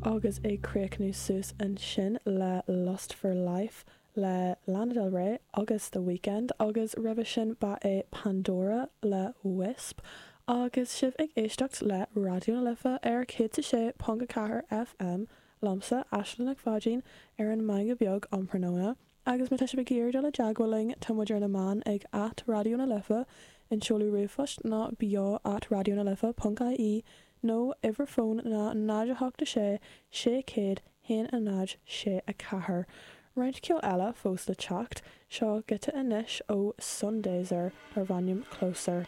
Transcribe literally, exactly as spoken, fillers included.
Agus ag críochnú suas ansin le Lust for Life le Lana Del Rey agus The Weeknd agus roimhe sin ba é Pandora le Wisp agus sibh ag éisteacht le Raidió na Life ar céad a sé ponc a ceathair FM liomsa Aisling Nic Pháidín ar an Meangadh Beag um thráthnóna. Agus má tá sibh ag iarraidh dul i dteagmháil linn tá muid ar na meáin ag at Raidió na Life, an seoladh ríomhphoist ná beo at raidió na life ponc ie nó uimhir fóin ná náid a hocht a sé sé céad haon a náid sé a ceathair. Roinnt ceoil eile fós le teacht, seo giota anois ó Sundazer darb ainm Closer.